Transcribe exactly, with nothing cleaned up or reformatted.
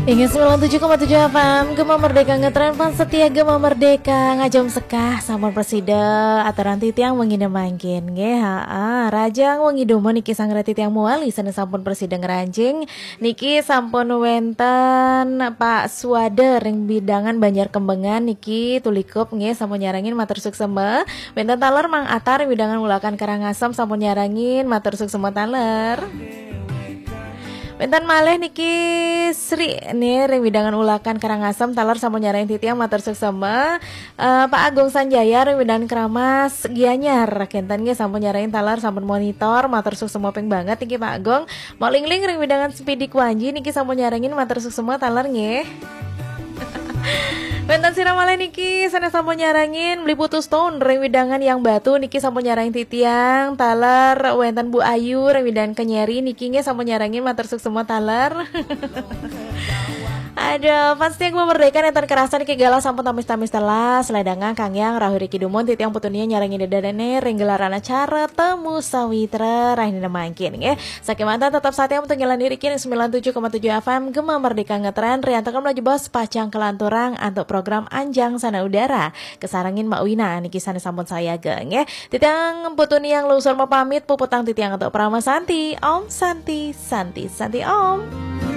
Inggih sembilan tujuh koma tujuh F M, Gema Merdeka ngetren, fans setia Gema Merdeka, ngajum sekah sampun prasida aturan titiang wengi mangkin nggih. Haa, rahajeng wengi dumun niki sareng titiang malih sane sampun prasida ngranjing. Niki sampun wenten Pak Suwada ring wewidangan Banjar Kembengan niki Tulikup nggih, sampun nyarengin, matur suksema. Wenten taler Mang Atar ring wewidangan Ulakan Karangasem sampun nyarengin, matur suksema taler. Wenten malih niki Sri nih ring wewidangan Ulakan Karangasem taler sampun nyarengin titiang, matur suksema. Eh, Pak Agung Sanjaya ring wewidangan Keramas Gianyar kenten nggih sampun nyarengin taler, sampun monitor, matur suksema ping banget niki Pak Agung. Mok Lingling ring wewidangan Sempidi Kwanji niki sampun nyarengin, matur suksema taler nggih. Wenten sira malih niki sane sampun nyarengin, Beli Putu Stone ring wewidangan Yang Batu niki sampun nyarengin titiang taler, wenten Bu Ayu ring wewidangan Kenyeri niki nggih sampun nyarengin, matur suksema taler. Aduh, fans setia Gema Merdeka nenten kerasa niki galah sampun tamis-tamis telas, ledangan Kang Yang rahu riki dumun titiang putune nyarengin dedane ring gelaran acara Temu Sawitra rahina mangkin nggih. Sakemanten tetep satia untuk ngilangi riki ring sembilan tujuh koma tujuh F M Gema Merdeka ngetren, riantukan melaju bos pacang kelanturang antuk program Anjang Sana Udara. Kesarengin Mak Wina niki sane sampun sayaga nggih. Titiang putune yang lungsur mapamit, puputang titiang antuk Parama Santi. Om Santi, Santi, Santi Om.